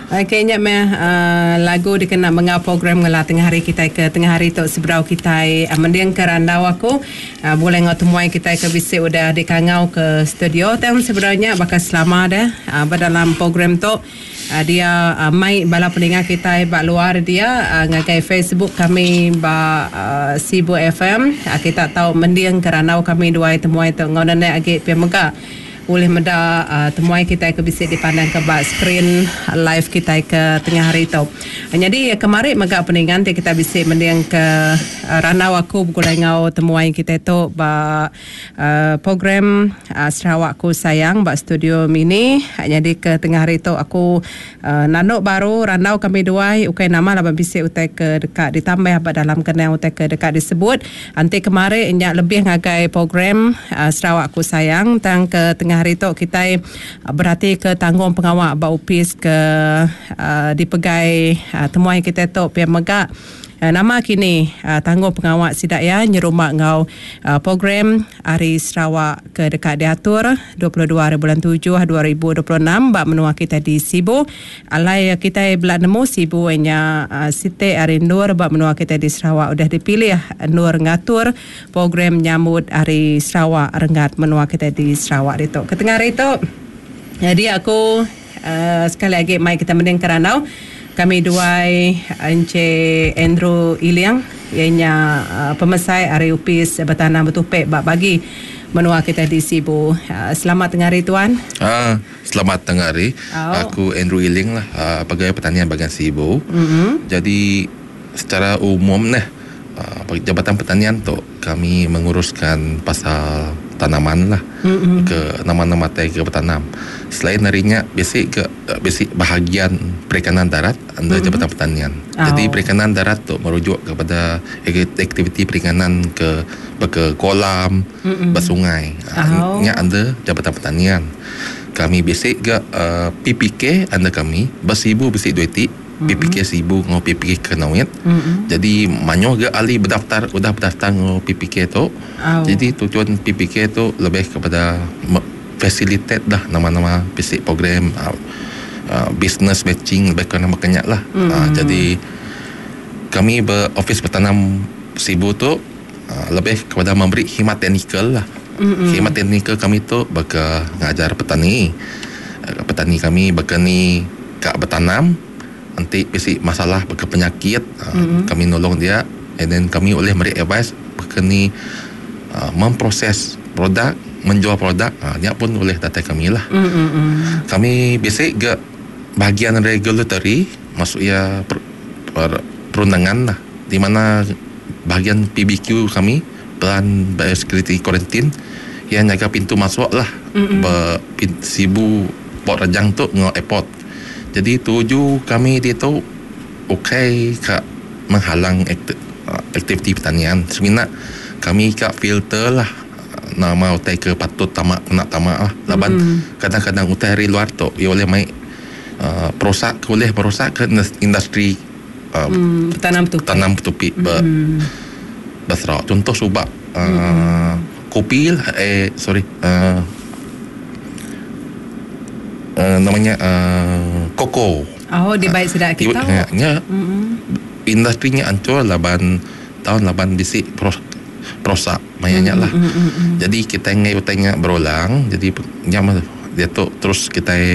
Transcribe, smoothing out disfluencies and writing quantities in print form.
Okey nya meh lagu dikena mengau program ngela tengah hari kitai ke tengah hari tu sebedau kitai mendingka randau aku begulai enggau temuai kitai ke bisi udah dikangau ke studio tang sebedau nya baka selama deh ba dalam program tu dia mai bala peninga kitai ba luar dia ngagai Facebook kami ba Sibu FM kita tau mendingka randau kami duai temuai tu enggau nenek agi pia mega. Ulih meda temuai kitai ke bisi dipandangka ba skrin live kitai ke tengah hari tu. Nyadi kemari mega peningan ti kitai bisi mendingka randau aku begulai enggau temuai kitai tu ba program Sarawak Ku Sayang ba studio mini. Nyadi ke tengah hari tu aku nandu baru randau kami duai ukai nama laban bisi utai ke deka ditambah ba dalam kenang utai ke deka disebut. Enti kemari nya lebih ngagai program Sarawak Ku Sayang tang ke tengah hari tu kitai beratika tanggung pengawa ba opis ke dipegai temuai kitai tu pia mega nama kini tanggung pengawa sida iya nyerumba enggau program Hari Sarawak ke deka diatur 22 hari bulan tujuh 2026 ba menua kitai di Sibu. Alai kitai bela nemu Sibu nya siti ari endur ba menua kitai di Sarawak udah dipilih endur ngatur program nyambut Hari Sarawak renggat menua kitai di Sarawak ditu. Ketengah hari tu dia aku sekali agi mai kita mending ke randau kami duai Encik Andrew Iling iya nya pemesai ari Opis Betanam Betupi ba bagi menua kitai di Sibu. Selamat tengah hari tuan. Selamat tengah hari. Aku Andrew Iling lah pegawai pertanian bahagian Sibu. Jadi secara umum neh Jabatan Pertanian tu kami menguruskan pasal tanaman lah ke nama-nama tai ke betanam. Selain ari nya bisi ke bisi bahagian perikanan darat under Jabatan Pertanian. Jadi perikanan darat tu merujuk kepada aktiviti perikanan ke baka kolam, ba sungai. Nya under Jabatan Pertanian. Kami bisi ga PPK under kami ba Sibu bisi dua iti PPK Sibu enggau PPK Kanowit. Jadi mayuh ga ahli berdaftar udah berdaftar enggau PPK tu. Jadi tujuan PPK tu lebih kepada facilitate lah nama-nama bisi program business matching lebih kurang baka nya lah. Jadi kami ba Ofis Betanam Sibu tu Lebih kepada memberi khidmat teknikal lah. Khidmat teknikal kami tu baka ngajar petani. Petani kami baka ni ka betanam enti bisi masalah baka penyakit kami nulung dia and then kami ulih meri advice baka ni memproses produk menjual produk nya pun ulih datai kami lah. Kami bisi ga bahagian regulatory maksud iya perundangan lah di mana Bahagian PBQ kami, Pelan Biosecurity Quarantine, iya nyaga pintu masuk lah ba Sibu Port Rajang tu enggau airport. Jadi tuju kami ditu ukai ka menghalang aktiviti pertanian semina kami ka filter lah nama utai ke patut tama kena tama lah laban kadang-kadang utai ari luar tu iya ulih mai uhh perusak ke ulih merusak ke industri. Betanam betupi. Betanam betupi ba ba Sarawak. Contoh suba uhh kopi lah eh sorry uhh nama nya uhh koko. Oh dibai sida kita. Nya industri nya anchur laban taun laban bisi perosak maya nya lah. Jadi kitai enggai utai nya berulang jadi nya meh diatu terus kitai.